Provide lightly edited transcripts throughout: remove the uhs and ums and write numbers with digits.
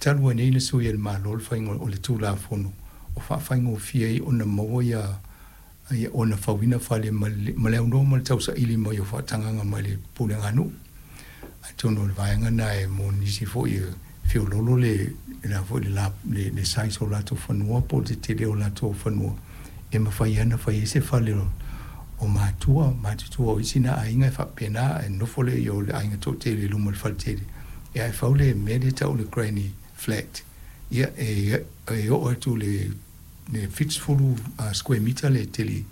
Talu ai nei na sui e le Malo le faiga o le Tulafono o faafaigofie ai ona maua ia ia ona fauina fale ma le ma le aunoa ma le tausaili mai o faatagaga mai le pulega a nuu. Atonu o le vaega lena e mo nisi foi e feoloolo le le a foi le la le le size o latou fanua po o le tetele o latou fanua e mafai ai ona fai ai se fale o o matua, matutua o isi na aiga e faapena ae nofo lea i o le aiga toatele i luma o le faletele ia ae fau le mea lea e tau o le granny flat ia e e oo atu i le 70 square meter le tele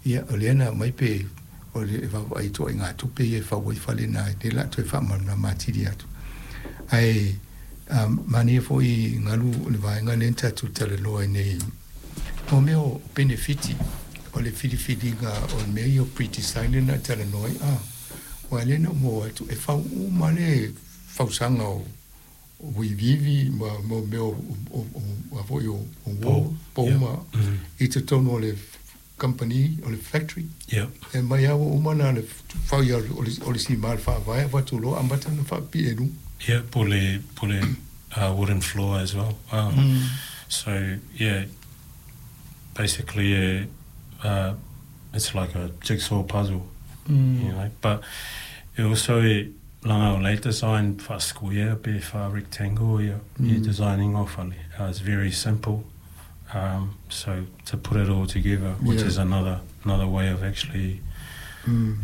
ia o lea na aumai pe o le e vaavaai i ituaiga tupe ia e fau ai fale na lea o le a toe faamalamalama atili atu. Ae manaia foi Galu o le vaega lea na tatou talanoa ai nei mo mea o penefiti o le filifiliga o mea ia o pre-design lea na e talanoa ai a aua lea na ou maua atu e fau uma le fausaga o uivivi ma mo mea o a foi o wall pou ma i totonu o le company o le factory. E aumai lava ua uma ona fai o le sima o le faavae avatu loa amata ona faapipii i luga. Yeah, po le po le wooden floor as well. So yeah, basically it's like a jigsaw puzzle, you know, but it also Leaga o la e design faa-square pe faa-rectangle ia ia design ina o fale. It's very simple um so to put it all together which is another another way of actually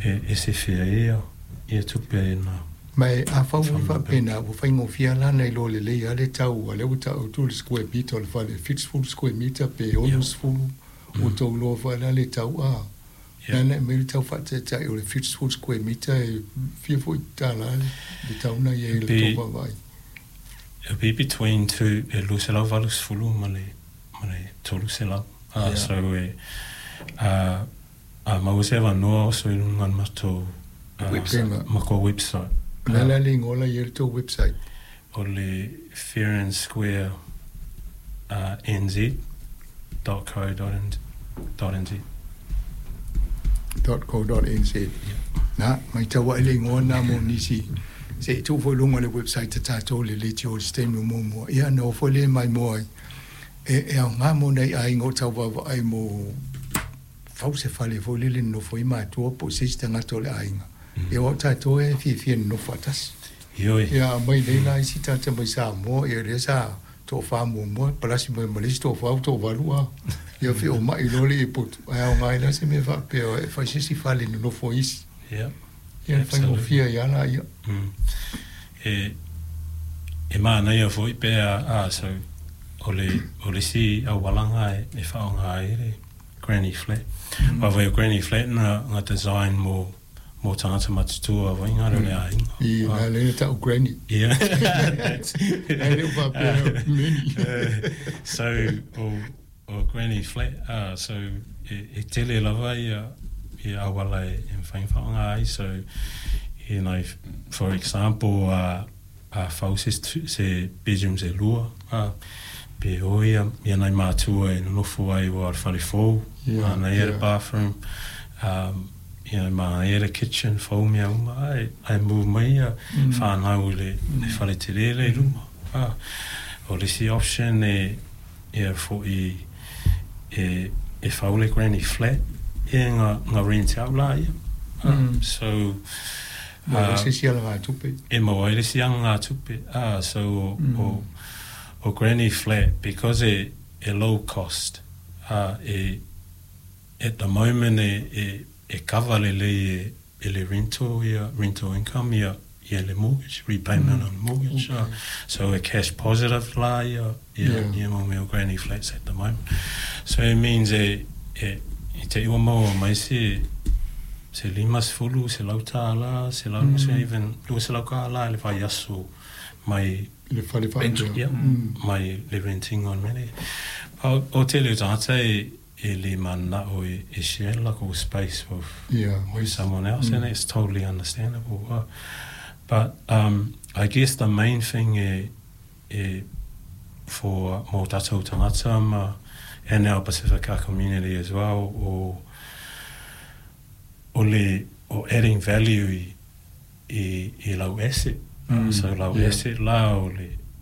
e e sefe ai ia ia tupe na. Ma e afau ua faapena ua faigofie lava la ona iloa lelei lava le tau a lea ua tau atu le square meter o le fale e 70 square meter pe 60 ua tou iloa foi la le tau a Lea e aumai le tau faataitai o le 70 square meter e fia foi tālā le tau na i ai i le tou vaavaai? It'll be between two, e 280 ma le, ma le 300. So e, a maua se avanoa oso i luga o le matou, matou website. O le a la le igoa la i ai le tou website? O le Fair and Square NZ dot co dot nz. Dot co dot nz. Na, matau ae le igoa lena mo nisi. Se i tuu foi i luga o le website a tatou le leitio i se taimi o muamua. Ia ona o foi lea e maimoa ai. E, e aoga mo nai aiga o tau vaavaai mo fau se fale foi lele e nonofo ai matua po o se isi tagata o le aiga. Ia aua o tatou e fiafia e nonofo faatasi. Ioe. Ia aumai nei la isi tagata mai Samoa, ia lea sa toafa muamua, palasi mai ma le isi toafa ua toavalu a. Ia feomai loa le potu, ae aoga ai la se mea faapea e fai se isi fale e nonofo ai isi. Ia. Ia faigofie ai lava laia. E, e manaia foi pe a, a so, o le, o le isi aualaga e faaaoga ai le granny flat. Aua foi o granny flat na, na design mo mo tagata matutua foi ngā reo le aiga. I ngā lea na tau granny. Ia. Ai lea faapea many. So, o, o granny flat, so e, e tele lava ia, ia auala e, e mawhai ona whaonga ai, so, you know, for example, a fau se, se bedrooms e lua, pe o ia, ia nai mātua e nonofo ai ua o le whare fou, yeah, mānaia yeah. le bathroom, you know, mānaia le kitchen, fou mea uma, ai, ai move mai ia whānau i le, le whare te rere i luma. O le isi option e, ia fo'i e, e fau le granny flat, ia nga, nga rent out la ia. So, Maua ai se isi alagatupe. E maua ai le isi alagatupe. So, o, o, o granny flat, because e, e low cost, e, at the moment e, e, e cover lelei e, e le rental ia, rental income ia, ia le mortgage, repayment on mortgage. So e cash positive la ia, ia, ia mau mea o granny flats at the moment. So it means e, e, i te ua maua mai se, se 50, $100, $150, even $200 i le vaiaso mai Le fale faapea. Yeah, mai le renting on mele. O, o tele o tagata e, e le mana'o e, e share lako space with, Yeah, with someone else, and it's totally understandable. But I guess the main thing e, e for mō tātou tangata ma and our Pasifika community as well, o, o le, o adding value i, i, i lau asset. So lau asset la o le,